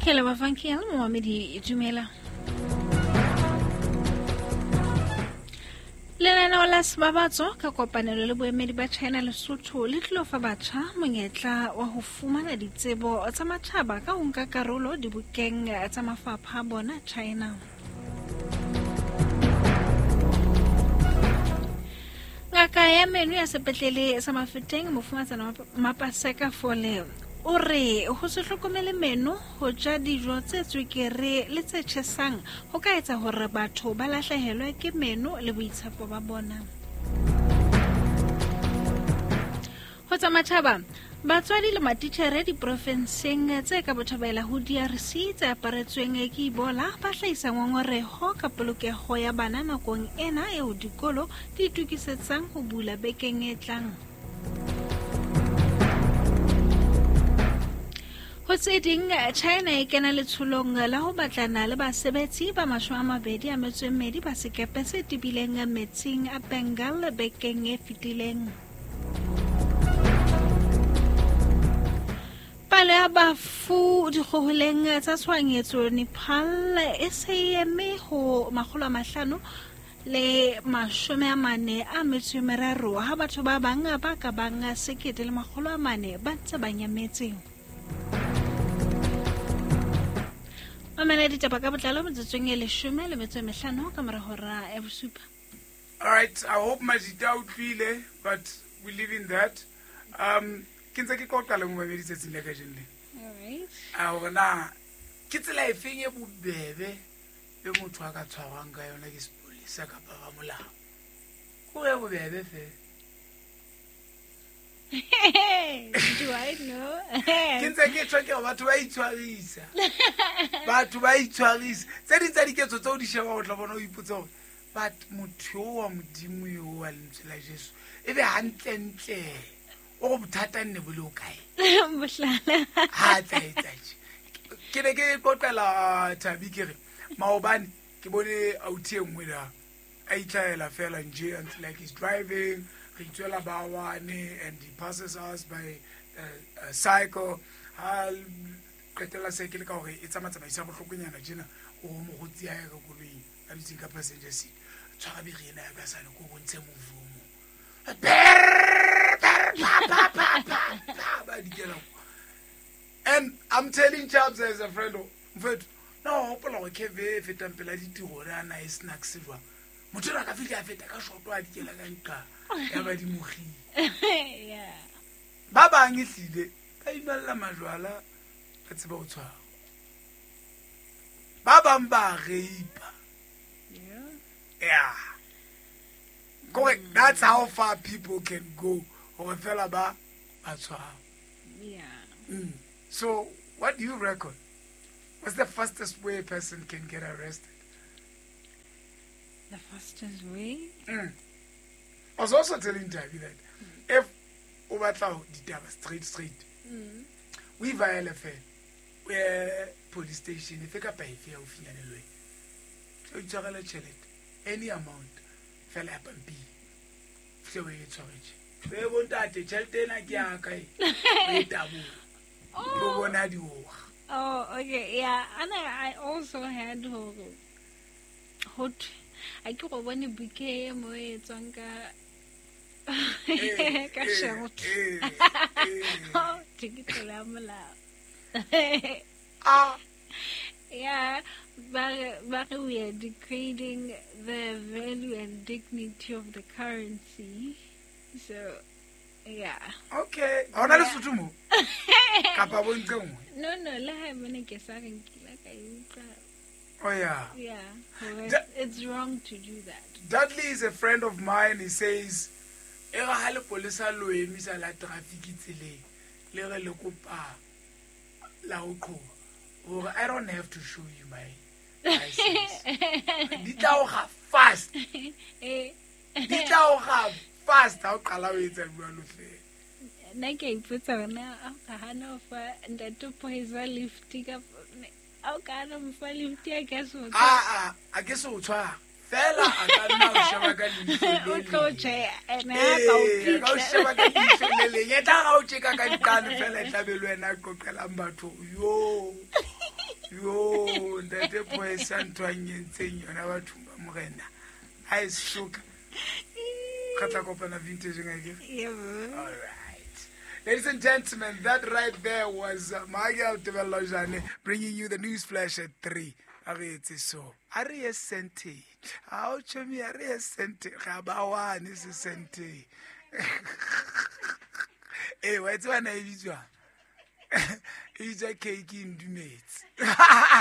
Ke leboha Funky le momamedi dumela. Lenaneo la Sebabatso ka kopanelo le boemedi ba China Lesotho le tlilo fa batjha monyetla wa ho fumana ditsebo tsa matjhaba ka ho nka karolo dibokeng tsa mafapha a bona China. Ngaka ya meno ya sepetlele sa Mafeteng Mofumatsana Mapaseka Fole o re ho se hlokomele meno, ho ja dijo tse tswekere le tse tjhesang ho ka etsa hore batho ba lahlehelwe ke meno le boitshepo ba bona. Ho tsa matjhaba, batswadi le matitjhere diprofenseng tse ka botjhabela ho DRC tse aparetsweng ke Ebola ba hlahisa ngongoreho ka polokeho ya bana nakong ena eo dikolo di itokisetsang ho bula bekeng e tlang. Ho tse ding, China e kena letsholong la ho batlana le basebetsi ba 22 ba sekepe se tebileng metsing a Bengal bekeng e fetileng. Palo ya bafu dikgoholeng tsa tshohanyetso Nepal e se e eme ho 543 ha batho ba bang ba ka bang 1400 ba ntse ba nyametse. Mamela ditaba ka botlalo metsotsong e 15 ka mora hora ya bosupa. All right, I hope Majita utlwile, but we live in that. Ke ntse ke qoqa le momamedi tsatsing la kajeno le. All right. A hore na ke tsela efeng e bobebe e motho a ka tshwarwang ka yona ke sepolesa kapa ba molao. Ko e bobebe fela. Do I know? Ke ntse ke tshwa ke batho ba itshwarisa. Batho ba itshwarisa. Tse ding tsa diketso tseo di sheba o tla bona o ipotsa hore but motho yo wa Modimo yo wa lentswe la Jesu e be hantlentle o go bothata nne bo le o kae? Mohlala. Ha tla etsa tje. Ke ne ke qoqela Thabi ke re maobane ke bone authi e nngwe la a itlhaela fela nje and like he's driving re itswela ba one and he passes us by a cycle ha qetella cycle ka hore e tsamatsamaisa bohlokonyana tjena o mogotsi ya ka koloing a dutseng ka passenger seat tshwara biri ena ya ka sane ko bontshe move o mong ba dikela. And I'm telling Chaps as a friend, mfethu na o hopola gore keve e fetang pela ditiro re a na e snacks jwang motho ena ka fitlhe a feta ka shoto a dikela ka nqa ya ba di mogile. Yeah. Ba bang e hlile ba inwella majwala ba tseba ho tshwara. Ba bang ba reipa. Yeah. Yeah. Kore that's how far people can go hore fela ba ba tshwara. Yeah. So what do you reckon? What's the fastest way a person can get arrested? The fastest way? I was also telling Tabi that if o batla ditaba straight, we violate we police station efe kapa efe ya haufinyane le wena. O itshwarele tjhelete, any amount, fela ya pampiri. Fihle o e tshwaretse. E bontate, tjhelete ena ke ya ka e. O e taboha. O bona dioga. Oh, okay, yeah. And I also had hore ho a ke go bone bouquet mo e tswang ka ka shelter. Oh, ke tsela ya molao. Ah. Yeah, but we are degrading the value and dignity of the currency. So, yeah. Okay. Ha hona Lesotho mo? Kapa bo ntle nngwe? No, no, le ha mone ke sa re nkile ka e utlwa. Oh, yeah. Yeah. It's wrong to do that. Dudley is a friend of mine. He says, e re ha lepolesa lo emisa la traffic tseleng, le re le kopa la ho qhoba. Hore I don't have to show you my license. Di tla o ga fast. Di tla o ga fast ha o qala o etsa jwalo fela. Nna ke a ipotsa hore na a o ka hana ho fa ntate Poisa lift ka a o ka hana ho fa lift a ka se o tshwara. A ke se o tshwara. Fela a ka nna o sheba ka leihlo le O tlo leng. tjhe, ene a ka o Ee, a ka o pitla. sheba ka leihlo le leng. E tla ga o tjeka ka diqane fela e tla be le wena a qoqelang batho. Yo. Yo, ntate Poesa ntho a nyentseng yona bathong ba morena. Ha e soka. Re tla kopana vintage akere? Yebo. All right. Ladies and gentlemen, that right there was Magel Tebello Jane bringing you the news flash at 3. A re etse so. A re ye sente. A o chomi a re ye sente. Ga ba wane se sente. Eh, wa tseba na e bitswang? E bitswa cake e ndumetse.